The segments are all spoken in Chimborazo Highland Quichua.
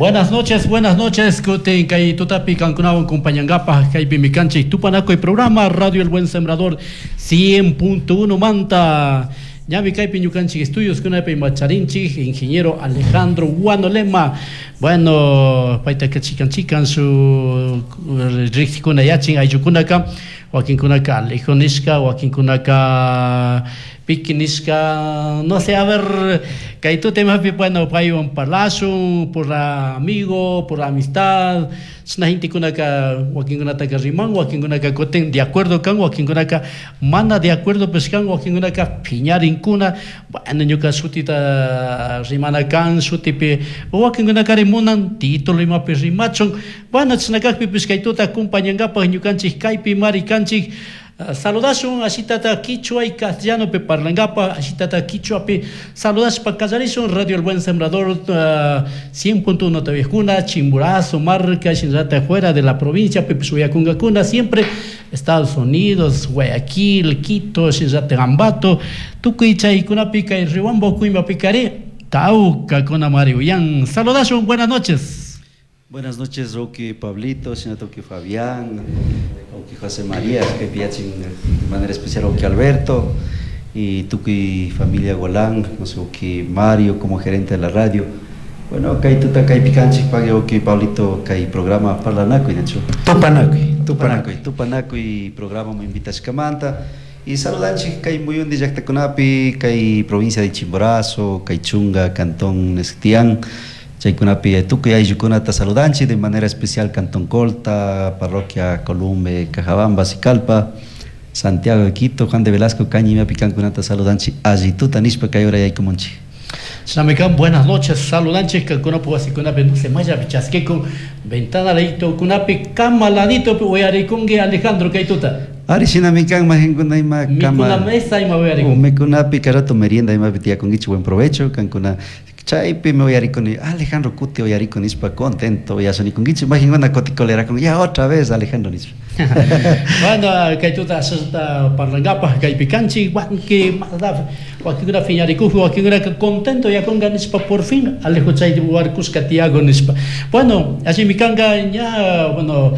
Buenas noches, buenas noches. Kutin kay tutapi kankunawan compañangapaj kaypimi kanchik Tupanakuy programa Radio El Buen Sembrador 100.1 manta. Ñami kaypi ñukanchik estudios kunapi macharinchik ingeniero Alejandro Guanolema. Bueno, paytaka chikan chikan su riqsikuna yachin ayllukunaka wakinkunaka Alejo nishka, wakinkunaka Piki nishka, no sé, a ver, kay tutemapi, bueno, paywan parlashun por amigo, por amistad, chashna gentekunaka wakinkunataka riman, wakinkunaka kutin de acuerdo kan, wakinkunaka mana de acuerdo pues kan, wakinkunaka phiñarinkuna, bueno, ñuka shutita rimana kan, shutipi, wakinkunakari munan título imapi rimachun, bueno, chashna kakpipish kay tuta acompañankapak ñukanchik kaypi mari kanchik. Saludashun ashitata quichua y castellanopi parlankapa, ashitata quichuapi saludashpa kallarishun Radio El Buen Sembrador 100.1 TV Chimborazo, Marca, shinallata fuera de la provincia, pipish uyakunkakuna, siempre Estados Unidos, Guayaquil, Quito, shinallata Ambato, tukuy chaykunapi kay Rihuambo kuymapikari, tawkakuna mari uyan. Saludashun, buenas noches. Buenas noches, Roque Pablito, señor Roque Fabián, Roque José María, que piachin de manera especial Roque Alberto y tukuy familia Golán, no sé, Roque Mario como gerente de la radio. Bueno, kay tuta kay picanchik pague Roque Pablito kay programa Parlanakuy, de hecho. Tupanakuy, Tupanakuy. Tupanakuy programa mu invitashkamanta. Y saludanchik kay muyundi llaqtakunapi, kay provincia de Chimborazo, kay Chunga, Cantón Nextián. Chaykunapi tukuy ayllukunata saludanchik de manera especial Cantón Colta, Parroquia Columbe, Cajabamba, Sicalpa, Santiago de Quito, Juan de Velasco, Cañimapi kankunata saludanchik allituta nishpa kay hora yaykumunchik. Shinamikan, buenas noches, saludanchik kankunapu wasikunapi no se maya pichasquekun, ventana leito kunapi kama ladito uyarikunki Alejandro kay tuta. Ari shinamikan majinkuna ima kama Mikuna mesa ima uyarikun. Mikunapi karato merienda ima tiyakunkichik, buen provecho kankuna. Chaypi me uyarikuni, Alejandro kuti uyarikuni nishpa contento uyashanikunkichik, majinkuna kuti colerakun, ya otra vez Alejandro nishpa. Bueno, kay tuta ashata parlankapaj kaypi kanchik, wanki madaf, wakinkuna phiñarikuj, wakinkuna contento yakunka nishpa por fin Alejo chay warkushka tiyago nishpa. Bueno, allimi kanka ña, bueno,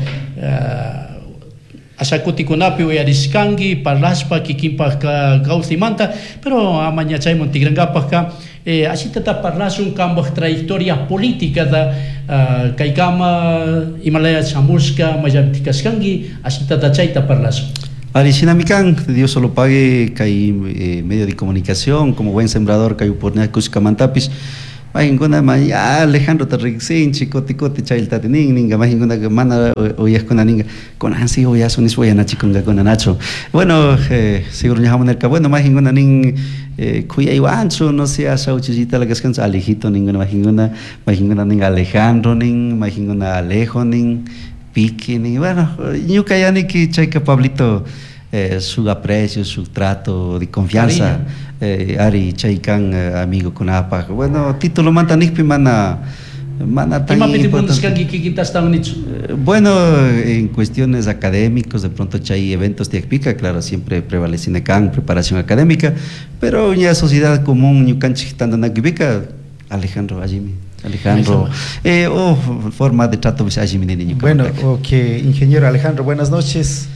ashakutikunapi uyarishkanki parlashpa kikinpaj kawsaymanta, pero ama ña chayman tikrankapajka, ashitata parlashun kanpaj trayectoria política da, kaykama imalaya shamushka mayllapi kashkanki, ashitata chayta parlashun. Ari shinami kan, Dios solo pague kay medio de comunicación como buen sembrador kay oportunidad kushkamantapis. Majinkuna ma ya Alejandro ta riqsinchik kuti kuti chaylltati nin ninga majinkuna mana uyaqkuna ninga kunan si uyasun nispa uyanachikunqakuna nachu. Bueno, seguro ña hamunerka, bueno, majinkuna nin khuyaywanchu, no sé, asha uchillita la kaskanchu Alejito ninguna majinkuna, majinkuna nin Alejandro nin, majinkuna Alejo nin, Piqui nin, bueno, ñuka yaniki chayka Pablito, su aprecio, su trato de confianza, ari chaykan, amigo kunapaj. Bueno, título manta nikpi mana, mana tan Imapi te importante. munashkanki kikinta ashtawan nichu? Bueno, en cuestiones académicos, de pronto chay eventos tiakpika, claro, siempre prevalece kan preparación académica, pero ya sociedad común ñukanchik tantanakupika, Alejandro allimi. Alejandro, oh, forma de trato, pues, allimi nini ñuka Bueno, mantaka. ok, ingeniero Alejandro, buenas noches.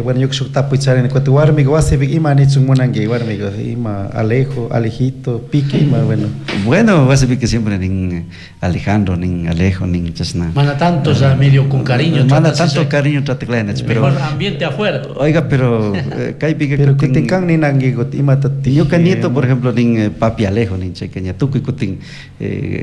Bueno, yo que tapu echar en el cuate warmigo, wasi big ima nichun munangue warmigo, ima Alejo, Alejito, Pique, ima, bueno. Bueno, wasi que siempre nin Alejandro, nin Alejo, nin chasna. Mana tanto ya medio con cariño, Mana trata así, tanto ya. cariño trata claro, pero Mejor ambiente afuera. Oiga, pero, kay pique Pero kutin kutin kan nin angue got, ima tati. Ñuka nieto, por ejemplo, nin papi Alejo, nin chequeña, tukuy kutin,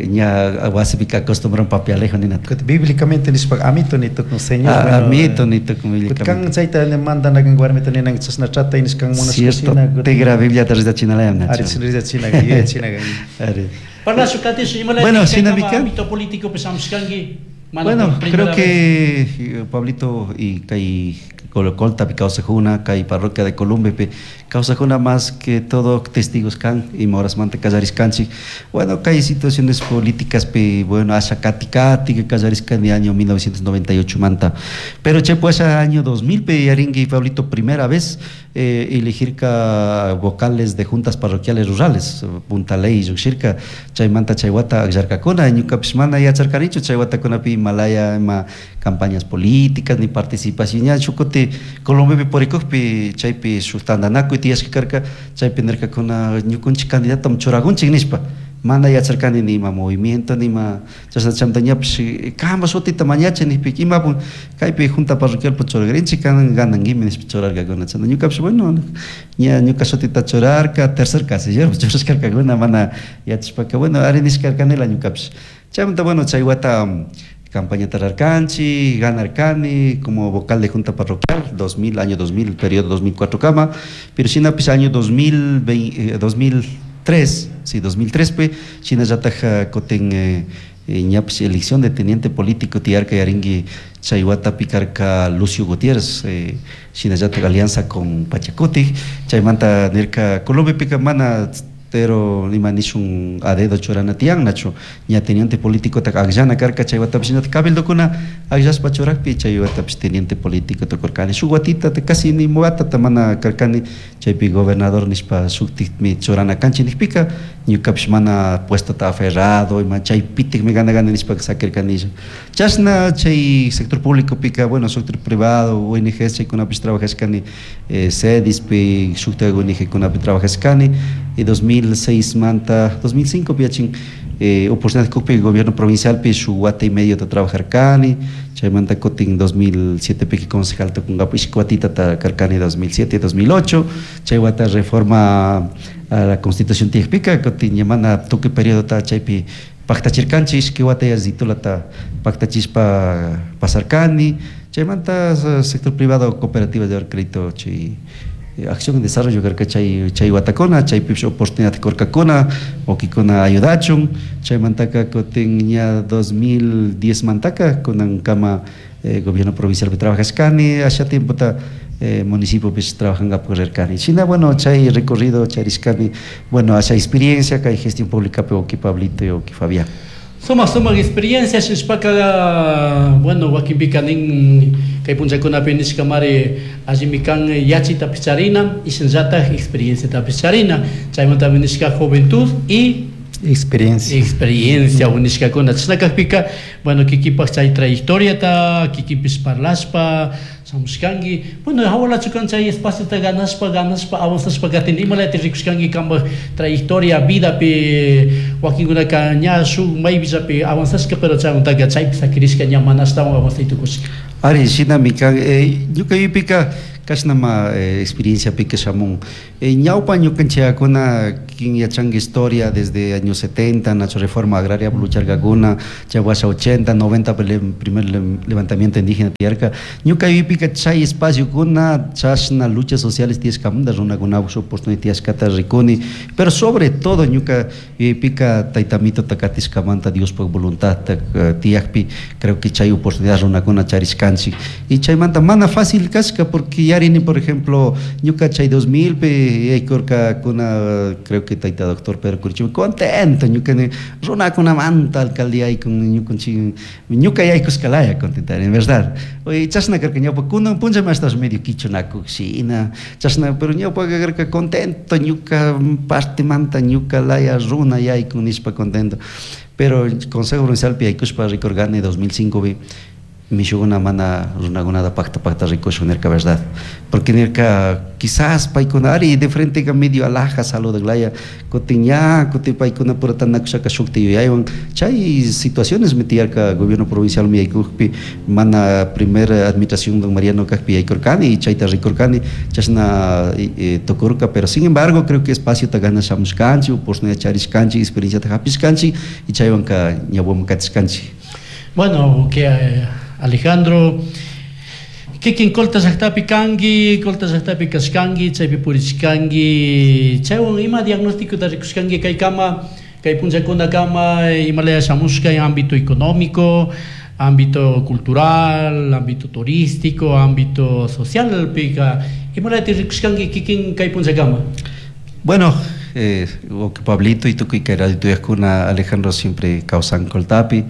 ña wasi pica acostumbran papi Alejo, nin atu. Kutin bíblicamente nispa amito ni tukun señor, Ah, bueno, amito ni tukun kutin bíblicamente. kan chayta ne mandan a warmita ni nang chasna trata y niskan monas Cierto, cocina, kutin tegra Biblia te reza china la yamna, Ari, chao. reza china, guía china, guía. Ari. Parla su cate, su imala, Bueno, que sina kama mikan. ámbito político, pues, amskangi, mano, Bueno, por primera creo que, vez. Pablito y kay Colocolta, Causajuna, kay parroquia de Columbe, pe, Causajuna más que todo testigos kan y moras mante callaris kanchi. Bueno, kay situaciones políticas, pe, bueno, asha kati kati, que callaris kan de año 1998 manta. Pero che, pues, año 2000, pe, yaringui, Pablito, primera vez, Elegirka vocales de juntas parroquiales rurales, punta ley llukshirka, chaymanta chay wata akllarkakuna. Ñukapish mana yacharkanichu chay watakunapi imalaya ima campañas políticas ni participación. Ña shuk kuti Colombiapi purikukpi chaypi shuk tantanakuy tiyashka karka, chaypi nirkakuna ñukunchik candidato churakunchik nishpa. Mana yacharkani ni ima movimiento ni ima chashna. Chaymanta ñapish kanpa shutita mañachi nijpi, imapun kaypi junta parroquialpi churagrinchik, kan gananguimi nishpa churarkakuna. Chayta ñukapish, bueno, ña ñuka shutita churarka, tercer casillero churashkarkakuna. Mana yachashpaka, bueno, ari nishkarkanila ñukapish. Chaymanta, bueno, chay wata campañata rarkanchik, ganarkani como vocal de junta parroquial 2000, año 2000, periodo 2004 kama. Pero shinapish año 2020, 2003, sí, 2003 pi shinallataj kutin ñapish elección de teniente político tiyarka, yarinki, chay watapi karka Lucio Gutiérrez, shinallataj alianza con Pachacutic. Chaymanta nirka Colombiapika mana pero ima nishun a dedo churana tiyan, nachu ña teniente político tak akllana karka. Chay watapish shinatak cabildokuna akllashpa churakpi, chay watapish teniente político tukurkani. Shuk watita, casi ni watata mana karkani chaypi. Gobernador nishpa shuktikmi churana kanchik nijpika, ñukapish mana puestota aferrado ima chaypitikmi gana gana nishpa sakirkanilla. Chashna chay sector público pika, bueno, sector privado, ONGs chaykunapish trabajashkani, CEDISpi, shuktak ONG kunapi trabajashkani. Y 2006 manta 2005 pi oportunidad kukpi gobierno provincial pi shuk wata y medio ta trabajarkani. Chaymanta kutin 2007 pi concejal tukunkapak ishki watita karkani, 2007, 2008. Chay wata reforma a la constitución tiyakpika, kutin ña mana tukuy periodota chaypi paktachirkanchik, ishki wata yallitulata paktachishpa pasarkani. Chaymanta sector privado, cooperativas de crédito, chay acción y desarrollo karka chay watakuna, chaypipish oportunidad kurkakuna wakikuna ayudachun. Chaymantaka kutin ña 2010 mantaka kunankama gobierno provincialpi trabajashkani, asha tiempota municipiopish trabajangapak rirkani. Shina, bueno, chay recorrido charishkani, bueno, asha experiencia kay gestión pública wawki Pablito y wawki Fabián. Sumak sumak experiencia shishpaka, bueno, wakinpika nin kay punllakunapi nishkamari allimi kan yachitapish charina y shinallatak experienciatapish charina. Chaymantami nishka juventud y experiencia. Experiencia nishkakuna. Chashna kakpika, bueno, kikinpak chay trayectoriata kikinpish parlashpa shamushkanki. Bueno, hawalachu kan chay espaciota ganashpa ganashpa avanzashpa katin? Imalata rikushkanki kanpak trayectoria vidapi? Wakinkunaka ña shuk maypillapi avanzashka, pero chaymantaka chaypi sakirishka, ña mana ashtawan avanzay tukushka. Ari, shinami kan. Ñuka yuypika kashnama experienciapika shamun. Ñawpa ñukanchikuna, quien yachanka historia, desde años 70 nacho reforma agraria lucharkakuna, chay washa 80, 90 primer levantamiento indígena tiyarka. Ñuka yuypika chay espaciokuna chashna luchas sociales tiyashkamanta runakunapak oportunidad tiyashkata rikuni. Pero sobre todo ñuka yuypika tayta Amitota katishkamanta, Diospuk voluntad tiyakpi, creo que chay oportunidad runakuna charishkanchik. Y chaymanta mana fácil kashka, porque yarini, por ejemplo, ñuka chay 2000 pi yaykurkakuna, creo que tayta doctor Pedro Curichumi contento, ñuka runakunamanta alcaldía con ñukanchik, ñuka yaykushkalaya contentari, en verdad. Oye, chashna karka ñawpa. Kunan punllami ashtawash medio kichunakuk shina chashna, pero ñawpa karka contento, ñuka partemanta ñuka laya runa yaykun nishpa contento. Pero consejo provincial pi yaykushpa rikurkani 2005 pi mishukuna mana runakunata pakta pakta rikushun nirka, verdad, porque nirka quizás paykuna ari de frente medio alhaja saludaklaya, kutin ña kutin paykuna pura tanakushaka shukti yuyaywan. Chay situaciones tiyarka. Gobierno provincial mi yaykukpi, mana primera administración don Mariano kakpi yaykurkani y chayta rikurkani, chashna tukurka. Pero sin embargo creo que espaciota gana shamushkanchik, oportunidad charishkanchik, experienciata hapishkanchik y chaywanka ñawpaman katishkanchik. Bueno, que Alejandro, kikin Colta llaktapi kanki, Colta llaktapi kashkanki, chaypi purishkanki, chaywan ima diagnósticota rikushkanki kaykama, kay punllakunakama, imalaya shamushka en ámbito económico, ámbito cultural, ámbito turístico, ámbito social, pika, imalaya rikushkanki kikin kay punllakama? Bueno, Pablito y tukuy kay radio tuyajkuna, Alejandro siempre kawsan Coltapi.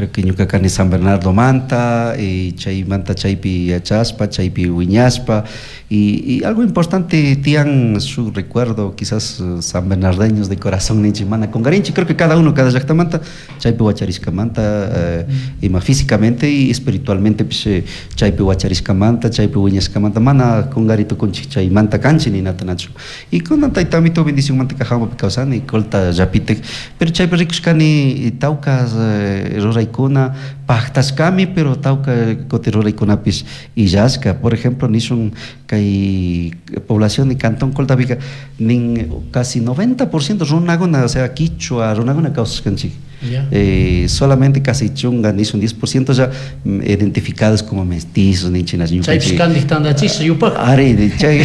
Creo que ñuka kani San Bernardo manta, y chaymanta chaypi yachaspa, chaypi wiñaspa, y algo importante tiyan su recuerdo, quizás san bernardeños de corazón ninchik mana kungarinchik, creo que cada uno, cada llaktamanta chaypi wacharishkamanta, ima físicamente y espiritualmente pish chaypi wacharishkamanta, chaypi wiñashkamanta mana kungari tukunchik, chaymanta kanchik ninata nachu. Y kunan tayta amito bendicionmanta kajamapi kawsani, Colta llapitik, pero chaypi rikushkani tawka ruraykuna paktashkami, pero tawka kuti ruraykunapish illashka. Por ejemplo, nishun kay población de Cantón Coltapika nin casi 90% runakuna, o sea, quichua runakuna kawsashkanchik. Solamente casi chunga nishun 10% ya identificados como mestizos ninchinas ñukanchik. Chaypish kandik tandachisha yupak. Ari, chay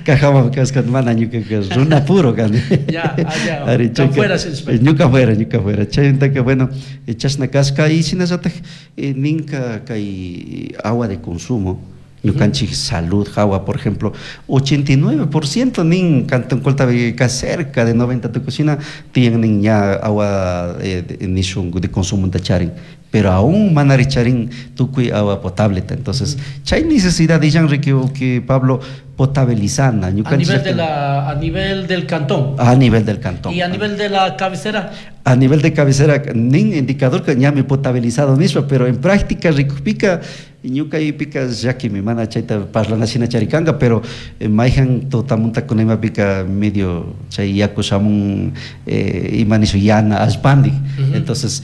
kajama kawskan mana ñuka runa puro kani. Ya, allá. Ari, chay fuera ñuka fuera, ñuka fuera. Chaymantaka bueno, chashna kashka y shinallatak ninka kay agua de consumo, ñukanchik salud hawa, por ejemplo, 89% nin Cantón Colta cerca de 90 tukushina tiyan nin ya agua nishun de consumo charin, pero aún manari charin tukuy agua potable. Entonces, chay necesidad illan Ricky que Pablo potabilizana. A nivel del cantón. A nivel del cantón. ¿Y a nivel de la cabecera? A nivel de cabecera, nin indicador que ñami potabilizado mismo, pero en práctica rikukpika ñuka ipika llakimi mana chayta parlana shina charikanga, pero mayhan tutamunta kunimapika medio chay yaku shamun ima nishu yana allpandik. Entonces,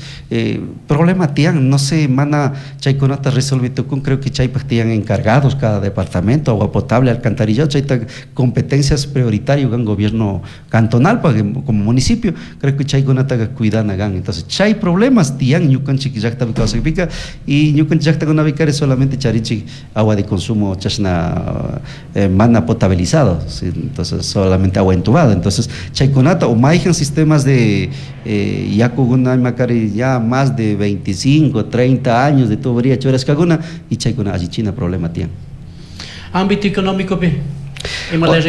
problema tiyan, no sé, mana chaykunata resolvi tukun, creo que chaypaq tiyan encargados cada departamento, agua potable, alcantarillado, chayta competencias prioritario gan gobierno cantonal pa, como municipio, creo que chaykunata cuidana gan. Entonces, chay problemas tiyan ñukanchik llaktapi kawsakpika y ñukanchik llaktakunapika solamente charinchik agua de consumo chashna mana potabilizado, ¿sí? Entonces solamente agua entubada. Entonces chaykunata o mayhan sistemas de yakukuna imakari ya más de 25, 30 años de tubería churashkakuna y chaykuna allichina problema tiyan. Ámbito económico pi, ima la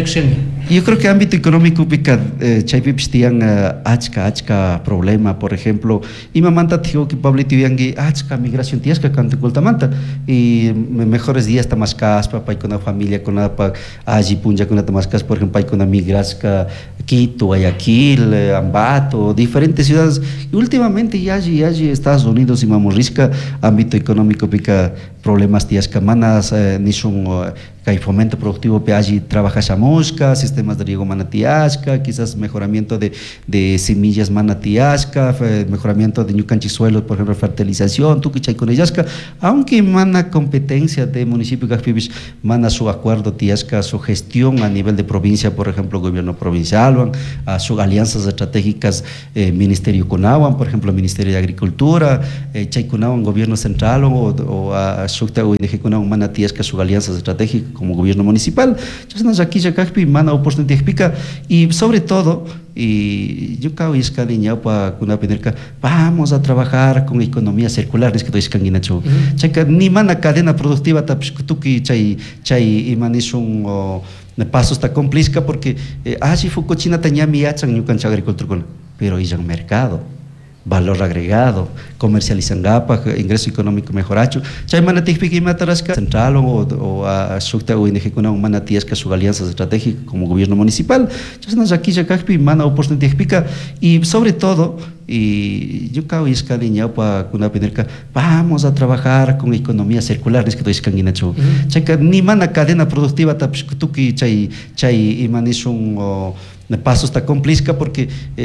Yo creo que ámbito económico pika chaypipish tiyan achka achka problema, por ejemplo, imamanta tijo que Pablito yuyanki achka migración tiyashka Cantón Coltamanta y mejores días mashkashpa paykuna familia kunapaq alli punllakunata mashkashpa, por ejemplo, paykuna migrashka Quito, Guayaquil, Ambato, diferentes ciudades. Y últimamente ya allí, allí Estados Unidos imamurishka ámbito económico pika problemas tiyashka manas nishun kay fomento productivo pe allí trabajashamushka, sistemas de riego mana tiyashka, quizás mejoramiento de semillas mana tiyashka, mejoramiento de ñukanchik suelos, por ejemplo, fertilización, tukuy chaykuna illashka, aunque mana competencia de municipio kajpipish, mana su acuerdo tiyashka, su gestión a nivel de provincia, por ejemplo, gobierno provincial, a sus alianzas estratégicas, ministerio kunawan, por ejemplo, Ministerio de Agricultura, chaykunawan gobierno central o a shukta ONG kunawan mana tiyashka sus alianzas estratégicas como gobierno municipal. Chashna llakilla kajpi mana oportunidad pika y sobre todo y yo kawishkani ñawpa kunapi nirka vamos a trabajar con economía circular nishka ishkanguinachu. Chayka ni mana cadena productiva tapish tukuy chay chay ima nishun pasos ta cumplishka porque alli fukuchinata ñami yachan ñukanchik agricultorkuna, pero illan mercado, valor agregado, comercializangapak, ingreso económico mejorachu. Chay mana tikpika imata rashka central o a shukta ONG kunawan mana tiyashka shuk alianzas estratégicas como gobierno municipal. Chashna llakilla kajpi mana oportunidad pika y sobre todo y yo kawishkani ñawpa kunapi nirka vamos a trabajar con economía circular nishka ishkanguinachu. Chayka ni mana cadena productiva tapish tukuy chay chay ima nishun pasos ta cumplishka porque